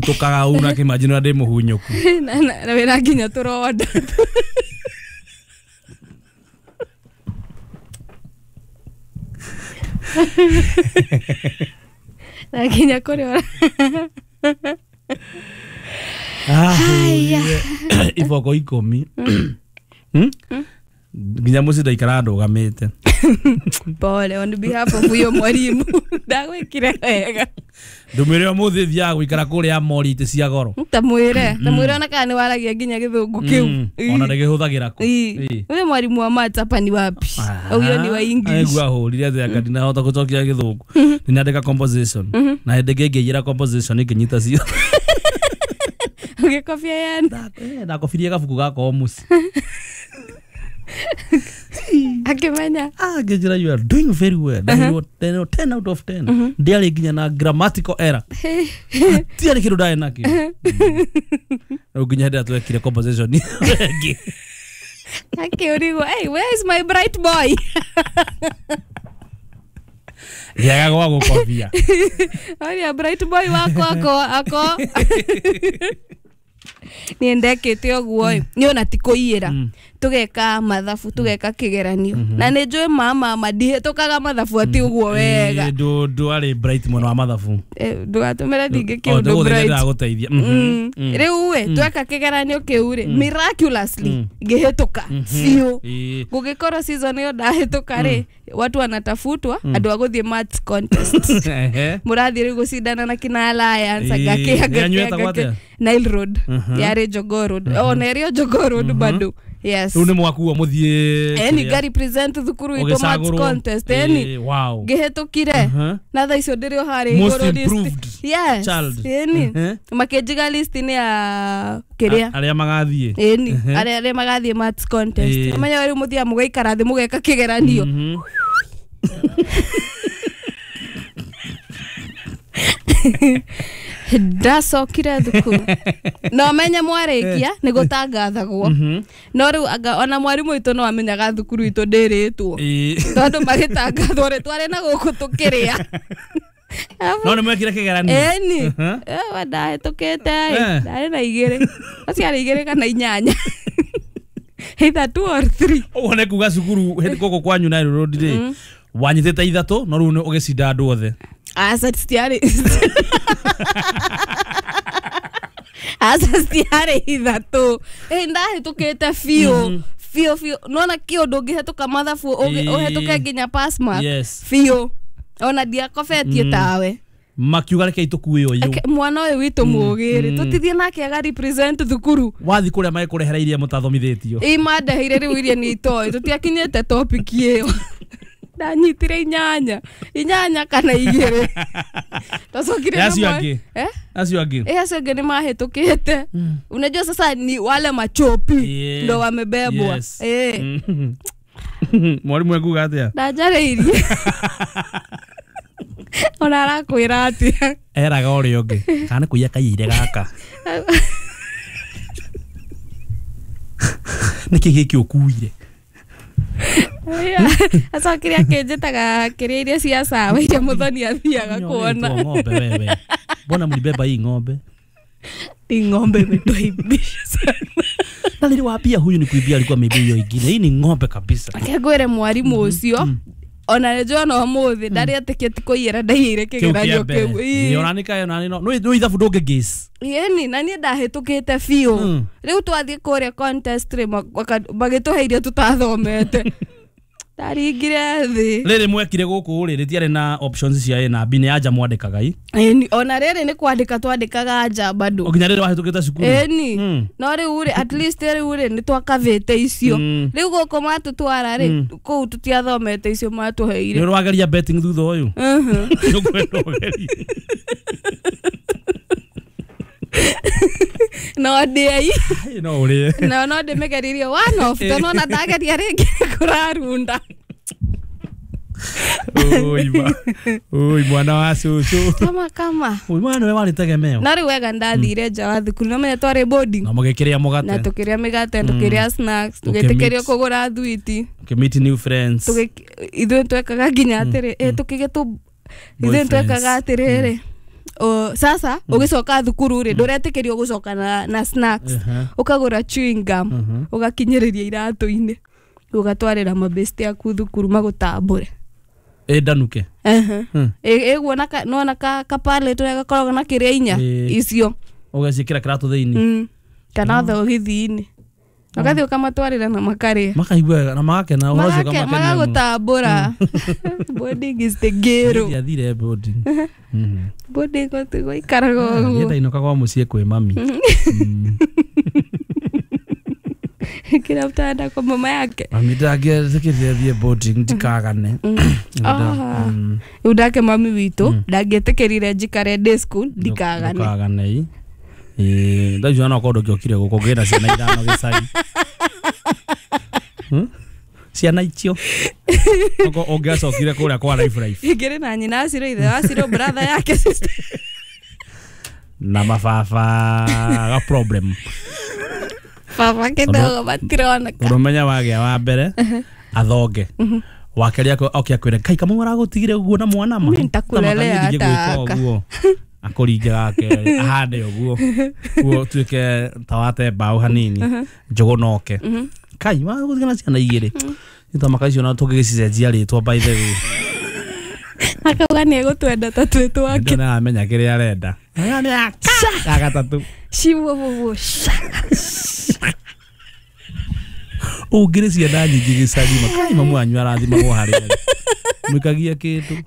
Tukaga una kimajini ũrĩa ndĩ mũhunyũku. Na wĩna nginya tũronda. Na nginya kũrĩa. Ahũrire iboko 10. Nginya mũciĩ ndaikaraga ndũgamĩte. Pole on behalf of huyo mwalimu. Ndagwĩkire wega. Ndũmĩre ũmũthĩ thiaga gũikara kũrĩa mori itĩ cia goro. Tamwĩre ona kana nĩ waragia nginya gĩthũngũ kĩu. Ona ndĩgĩhũthagĩra kũ. Huyo mwalimu wa maths hapa ni wapi? Huyo ni wa English. Aigua hũrire atĩ anga ndinahota gũcokia gĩthũngũ. Nĩnyandĩka composition. Na hĩndĩ ĩngĩ ngĩiyĩra composition ngĩnyita cio. Ũgĩkobia yani. Ndakobirie gabuku gakwa o mũciĩ. Akĩmenya. Ngĩnjĩra you are doing very well. Ndaheirwo 10 out of 10. Ndiarĩ nginya na grammatical error. Hatiarĩ kĩndũ ndarĩ nakĩo. Rĩu nginya hĩndĩ ĩrĩa twekire composition ĩngĩ. Akĩũrigwo, hey, where is my bright boy? Ngĩaga gwa gũkobia. Oria bright boy wakwa ako. Niĩ ndekĩte ũguo ĩ, niĩ ona ti kũiyĩra. Tũgeka mathabu, tũgeka kĩgeranio. Na nĩ njũĩ mama ndihĩtũkaga mathabu atĩ ũguo wega. Ndwarĩ bright mwena wa mathabu. Ndũgatũmĩre ningĩ kĩũndũ bright. Ndĩragũteithia. Rĩu ĩ, tweka kĩgeranio kĩu rĩ, miraculously ngĩhĩtũka biũ. Gũgĩkorwo season ĩyo ndahĩtũka rĩ, watu wanatafutwa andũ a gũthiĩ maths contest. Mũrathiĩ rĩu gũcindana na kina Alliance, angake Nile Road. Yarĩ Jogoo Road. Ona ĩrĩ o Jogoo Road bado. Yes. Rĩu nĩ mwakuo mũthiĩ. Eni nga represent thukuru itũ maths contest. Eni ngĩhĩtũkire. Na thaa icio ndĩrĩ o harĩa igũrũ list. Yes. Eni makĩnjiga list-inĩ ya kĩrĩa arĩa magathiĩ. Eni arĩa magathiĩ maths contest. Amenya rĩu mũthiaga mũgaikara thĩ mũgeka kĩgeranio. Ndacokire thukuru. No menye mwarĩkia nĩ gũtangathagwo. No rĩu anga ona mwarimũ witũ no amenyaga thukuru itũ ndĩrĩtwo. Tondũ magĩtangathwo rĩ, twarĩ na gũkũ tũkĩrĩa. No nĩ mwekire kĩgeranio. Ĩni. Ndahĩtũkĩte ndarĩ na 2. Aciarĩ 2 kana 8. Either 2 or 3. Ũguo nĩ kuga cukuru hĩndĩ gũkũ kwanyu Nile Road rĩ, wanyitĩte 3 no rĩu ũgĩcinda andũ othe. Aca citiarĩ. Aca citiarĩ 3. Ndahĩtũkĩte biũ. Biũ biũ. Nona kĩũndũ ũngĩhĩtũka mathabu ũhĩtũke nginya pass mark. Biũ. Ona ndiakobetie tawe. Makiuga reke itũkue ũyũ. Mwana ũyũ witũ mũũgĩ rĩ, tũtithie nake aga represent thukuru. Wathiĩ kũrĩa magĩkũrehera iria mũtathomithĩtio. Ĩ mandeheire rĩu iria nĩ itoĩ, tũtiakinyĩte topic ĩyo. Ndanyitire 8. 8 kana 2. Tũcokire na acio angĩ. Acio angĩ. Acio angĩ nĩ mahĩtũkĩte. Unajua sasa ni wale machopi ndo wamebebwa. Mwalimu ekuga atĩa? Ndanjarĩirie. Ona arakwĩra atĩa? Eraga ũrĩa ũngĩ. Kana nĩ kũiya kaiyire gaka. Nĩkĩ gĩkĩ ũkuire? Acokire akĩnjĩtaga kĩrĩa iria cia sawa iria Muthoni athiaga kuona. Ng'ombe wewe. Mbona mlibeba hii ng'ombe? Hii ng'ombe imetuaibisha sana. Na niliwaambia huyu ni kuibia, alikuwa ameibia hiyo ingine. Hii ni ng'ombe kabisa. Akĩngwĩre mwarimũ ũcio ona nĩnjũĩ ona ũmũthĩ ndarĩ etĩkĩtie kũiyĩra ndaiyĩire kĩgeranio kĩu. Ĩĩ ona nĩ kaĩ ona no ithabu ndũngĩ guess. Ĩni na niĩ ndahĩtũkĩte biũ. Rĩu twathiĩ kũrĩa contest rĩ, magĩtũhe iria tũtathomete. Ndaringire thĩ. Rĩrĩ mwekire gũkũ rĩ, rĩtiarĩ na options cia A na B, nĩ anja mwandĩkaga i. Ĩni ona rĩrĩ nĩ kwandĩka twandĩkaga anja bado. O nginya rĩrĩ wahĩtũkĩte cukuru. Ĩni. No rĩu rĩ, at least rĩu rĩ nĩ twakavĩte icio. Rĩu gũkũ matũtwara rĩ, kũu tũtiathomete icio matũheire. Nĩ ũrageria betting thutha ũyũ? Nĩũkwenda ũgerie. No ndĩai. No ũrĩe. No no ndĩmĩgeririe one off, tondũ ona ndageria rĩngĩ kũrarunda. Oi mwana wa cũcũ. Kama. Oi mwana nĩwe warĩ tegemeo. No rĩu wega ndathire nja wa thukuru, no menya twarĩ boarding. Na mũgĩkĩrĩa mũgate. Na tũkĩrĩa mĩgate, tũkĩrĩa snacks, tũgĩtĩkĩrio kũgũra thwiti. Ũkĩmeet new friends. Ithuĩ twekaga nginya atĩrĩ, ithuĩ twekaga atĩrĩrĩ. Sasa ũgĩcoka thukuru rĩ ndũretĩkĩrio gũcoka na snacks, ũkagũra chewing gum ũgakinyĩrĩria iratũ-inĩ ũgatwarĩra mabesti aku thukuru magũtambũre. Ĩndanuke. Ĩguo nona kapale tũrĩa gakoragwo na kĩrĩa inya icio ũgaciĩkĩra kĩratũ thĩinĩ kana thogithĩ-inĩ ũgathiĩ ũkamatwarĩra na makarĩa makaigua wega na magakena ũhoro ũcio ũkamakenia mũno. Magagũtambũra. Boarding is the ghetto. Ndiathire boarding. Boarding gũikaraga ũguo. Niĩ ndainũka kwa mũciĩ kwĩ mami. Kila mtu anaenda kwa mama yake. Mami ndangĩetĩkĩrire thiĩ boarding ndikagane. Rĩu ndake mami witũ ndangĩetĩkĩrire njikare day school ndikagane. Ndukagane. Ndaigua no korwo ndũngĩokire gũkũ ngĩna ciana 5 gĩcagi. Ciana icio oko ũngĩacokire kũrĩa kwa life. Ingĩrĩ na nyina acirwo ithe wacirwo brother yake sister na mababa ga problem. Baba kidogo matironeka. Ũrũmenya wagĩa wa mbere athonge wakeria oke akwĩre kai kamau aragũtigire ũguo na mwana ma. Mimi nitakulelea hata aka. Akũringe gake ahande ũguo ũguo tuĩke ta wate mbaũ hanini njũgũ noke kai wagũtigana ciana 2 nĩtwamaka icio na tũngĩgĩcicenjia rĩtwa by the way. Akauga nĩ egũtwenda ta twĩ twake. Nĩaramenya kĩrĩa arenda. Ya gatatũ Shiwowowo. Ũngĩrĩ ciana nyingĩ gĩcagi makai mamu wanyu arathimagwo harĩa arĩ mwĩkagia kĩndũ.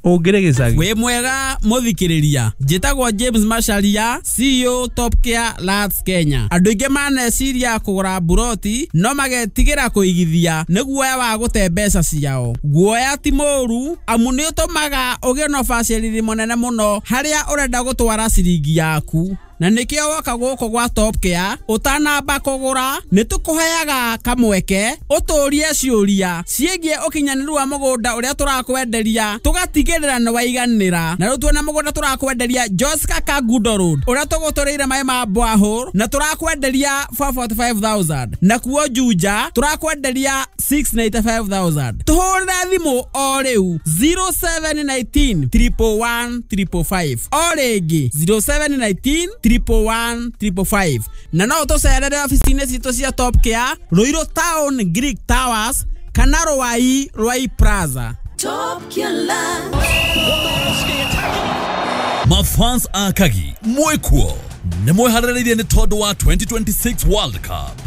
Ũngĩrĩ gĩcagi. Wĩ mwega mũthikĩrĩria, njĩtagwo James Macharia, CEO Top Care Lands Kenya. Andũ aingĩ maneciria kũgũra mburoti no magetigĩra kũigithia nĩ guoya wa gũte mbeca ciao. Guoya ti mũũru amu nĩ ũtũmaga ũgĩe na ũbacĩrĩri mũnene mũno harĩa ũrenda gũtwara ciringi yaku. Na nĩkĩo woka gũkũ gwa Top Care ũtanamba kũgũra nĩ tũkũheaga kamweke ũtũrie ciũria ciĩgiĩ ũkinyanĩru wa mũgũnda ũrĩa tũrakwenderia tũgatigĩrĩra nĩ waiganĩra. Na rĩu tuona mũgũnda tũrakwenderia Joska Kangundo Road ũrĩa tũgũtũrĩire maĩ ma borehole na tũrakwenderia 445,000 na kuo Juja tũrakwenderia 695,000. Tũhũrĩre thimũ o rĩu 0719 111 555 o rĩngĩ 0719 111 555 na no tũcerere ofici-inĩ citũ cia Top Care Ruiru Town Greek Towers kana Ruai Ruai Plaza. Top Care Land. Mafans akagi mwekuo nĩ mwĩharĩrĩirie nĩ tondũ wa 2026 World Cup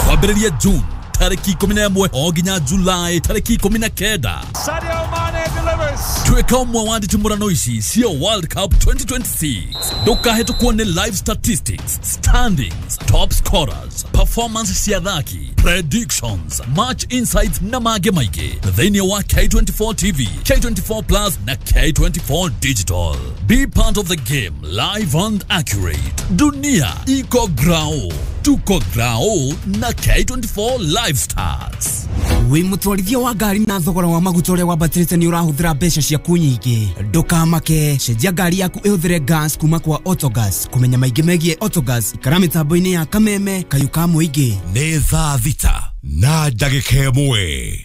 kwambĩrĩria June tarĩki 11 o nginya July tarĩki 19. Sadio Mane delivers. Tuĩka ũmwe wa nditimũrano ici cia World Cup 2026. Ndũkahĩtũkwo nĩ live statistics, standings, top scorers, performance cia athaki, predictions, match insights na mangĩ maingĩ thĩinĩ wa K24 TV, K24 Plus na K24 Digital. Be part of the game live and accurate. Dunia iko grao, tuko grao na K24 Live Stars. Wĩ mũtwarithia wa ngari na thogora wa maguta ũrĩa wambatĩrĩte nĩ ũrahũthĩra mbeca ciaku nyingĩ. Ndũkamake, cenjia ngari yaku ĩhũthĩre gas kuma kwa Autogas. Kũmenya maingĩ megiĩ Autogas, ikara mĩtambo-inĩ ya Kameme Kayũ ka Mũingĩ. Nĩ thaa 6:01.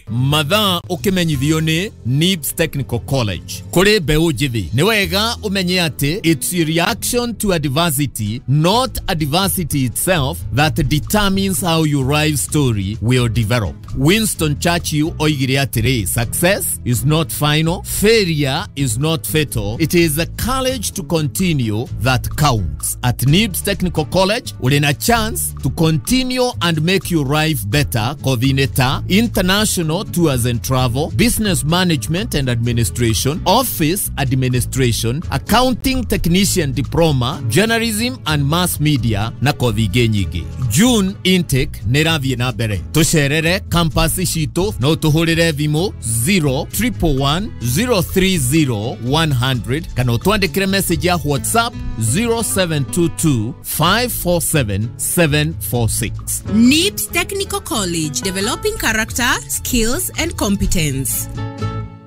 Mathaa ũkĩmenyithio nĩ NIBS Technical College. Kũrĩ mbeũ njĩthĩ nĩ wega ũmenye atĩ it's a reaction to adversity, not adversity itself, that determines how your life story will develop. Winston Churchill oigire atĩrĩ, success is not final, failure is not fatal, it is the courage to continue that counts. At NIBS Technical College ũrĩ na chance to continue and make your life better. Coordinator, international tours and travel, business management and administration, office administration, accounting technician diploma, journalism and mass media na kothi ingĩ nyingĩ. June intake nĩ ĩrathiĩ na mbere. Tũcerere campus citũ no tũhũrĩre thimũ 0 111 030 100 kana ũtwandĩkĩre message ya WhatsApp 0722 547 746. NIBS Technical College, developing character, skills and competence.